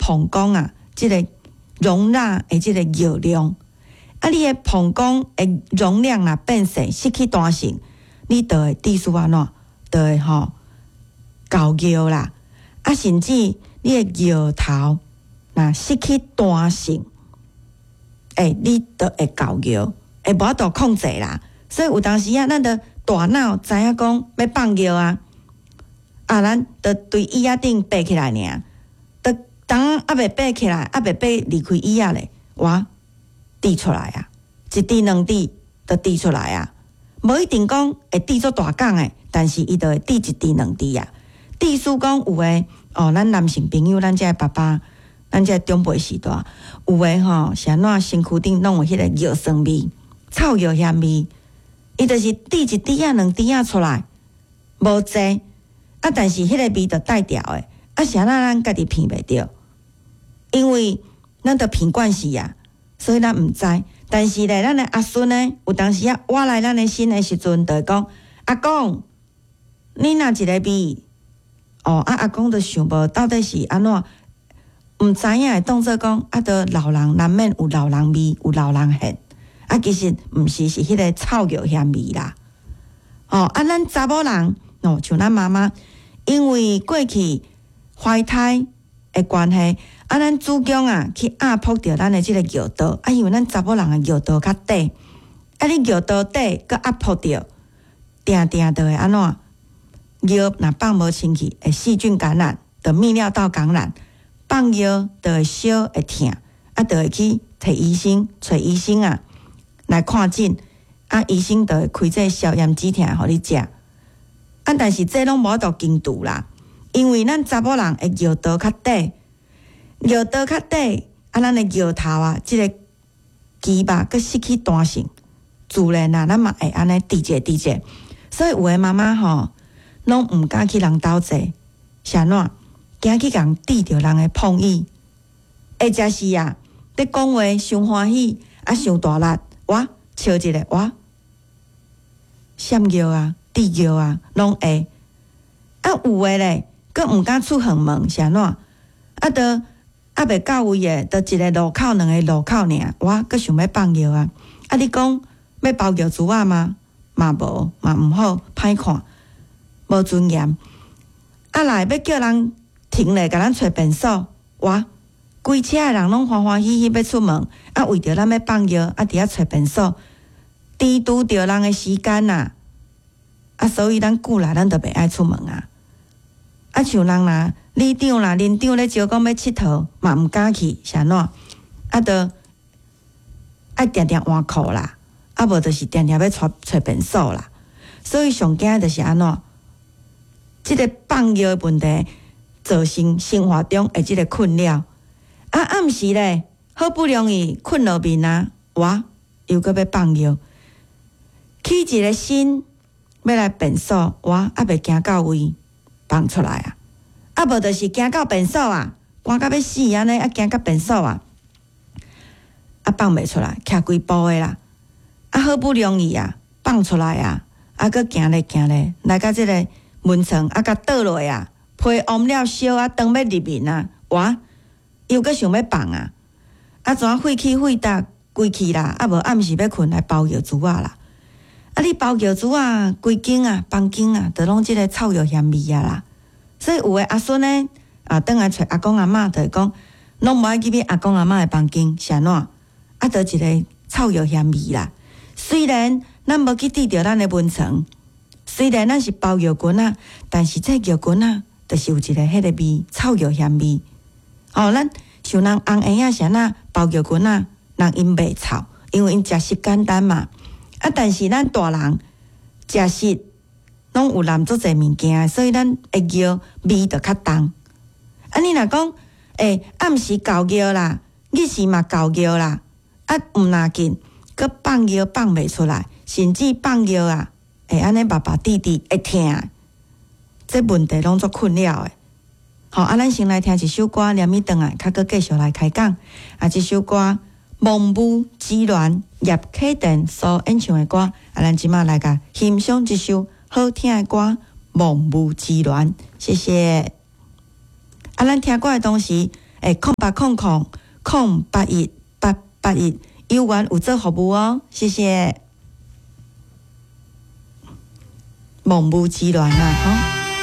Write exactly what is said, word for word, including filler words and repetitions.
膀胱啊，這个容納的這个尿量。啊，你的膀胱的容量若變細，失去彈性，你就會致使按怎，就會吼猴尿啦。啊，甚至你的尿頭若失去彈性，欸，你就會猴尿，會無法度控制啦。所以有當時啊，咱著大腦知影講欲放尿啊，啊，咱著對椅仔頂爬起來爾，著當猶未爬起來，猶未爬離開椅仔咧，哇，滴出來啊，一滴兩滴就滴出來啊，無一定講會滴做大管的，但是伊就會滴一滴兩滴啊。致使講有的哦，咱男性朋友，咱這个爸爸，咱這个長輩時代，有的吼是按怎身軀頂攏有彼个尿酸味、臭尿薟味，伊就是滴一滴仔、兩滴仔出來，無濟啊，但是彼个味就帶牢的，啊，是按怎咱家己鼻袂著？因為咱著鼻慣勢啊，所以咱毋知。但是咧，咱的阿孫呢，有當時啊，倚來咱的身的時陣，就會講：阿公，你若一个味？哦，啊，阿公就想無到底是按怎，毋知影會當做講，啊，著老人難免有老人味，有老人現。啊，其實毋是，是彼个臭尿薟味啦。哦，啊，咱查某人，哦，像咱媽媽，因為過去懷胎的關係，啊，咱子宮啊去壓迫著咱的這个尿道，啊，因為咱查某人的尿道較短，啊，你尿道短，閣壓迫著，定定就會按怎？尿若放無清氣，會細菌感染，就泌尿道感染，放尿就會燒會疼，啊，就會去提醫生，揣醫生啊來看診，啊，醫生就會開這個消炎止疼予你食，啊，但是這攏無法度根除啦，因為咱查某人的尿道較短，尿道較短，啊，咱的尿頭啊，這个肌肉閣失去彈性，自然啊，咱嘛會按呢滴者滴者，所以有的媽媽吼，攏毋敢去人兜坐，是按怎？驚去共滴著人的碰椅，或者是啊，咧講話傷歡喜，啊，傷大力，哇，笑一下，哇，閃尿啊，滴尿啊，攏會。啊，有的咧，閣毋敢出遠門，是按怎？啊，著猶未到位的，著一个路口，兩个路口爾，哇，閣想欲放尿啊！啊，你講欲包尿珠仔嗎？嘛無，嘛毋好，歹看。無尊嚴，啊來欲叫人停咧，共咱揣便所，哇！規車的人攏歡歡喜喜欲出門，啊，為著咱欲放尿，啊，佇遐揣便所，耽誤著人的時間啊！啊，所以咱久來咱就袂愛出門啊！啊，像人若里長啦、鄰長咧招講欲𨑨迌，嘛毋敢去，是按怎？啊，著愛定定換褲啦，啊，無就是定定欲揣揣便所啦。所以上驚就是按怎？這个放尿的問題造成生活中的這个困擾。啊，暗時咧，好不容易睏落眠啊，哇，又閣欲放尿，起一个身欲來便所，哇，猶未行到位，放出來啊！啊，無就是行到便所啊，寒甲欲死按呢，啊，行到便所啊，啊，放袂出來，徛規步的啦，啊，好不容易啊，放出來啊，啊，閣行咧行咧，來到這个門床啊，共倒落啊，被翳了燒啊，當欲入眠啊，哇，又閣想欲放啊，啊，怎血氣血壓規氣啦，啊無暗時欲睏來包尿珠仔啦，啊，你包尿珠仔，規間啊，房間啊，都攏這个臭尿薟味啊啦，所以有的阿孫呢，啊，轉來揣阿公阿嬤，就會講，攏無愛入去阿公阿嬤的房間，是按怎？啊，就一个臭尿薟味啦。雖然咱無去滴著咱的門床。雖然咱是包尿裙仔，但是這尿裙仔就是有一个彼个味，臭尿薟味。哦，咱像人翁嬰仔是按怎包尿裙仔，人𪜶袂臭，因為𪜶食食簡單嘛。啊，但是咱大人食食攏有含足濟物件，所以咱的尿味就較重。啊，你若講，欸，暗時猴尿啦，日時嘛猴尿啦，啊，毋若緊，閣放尿放袂出來，甚至放尿啊，會按呢目目滴滴會疼，這問題攏足困擾的。好，啊，咱先來聽一首歌，連咪轉來，較閣繼續來開講。啊，這首歌《亡母之戀》葉啟田所演唱的歌，啊，咱這馬來共欣賞這首好聽的歌《亡母之戀》，謝謝。啊，咱聽歌的同時，欸，空八空空空八一八八一，有緣有做服務哦，謝謝。夢無之戀啊，吼。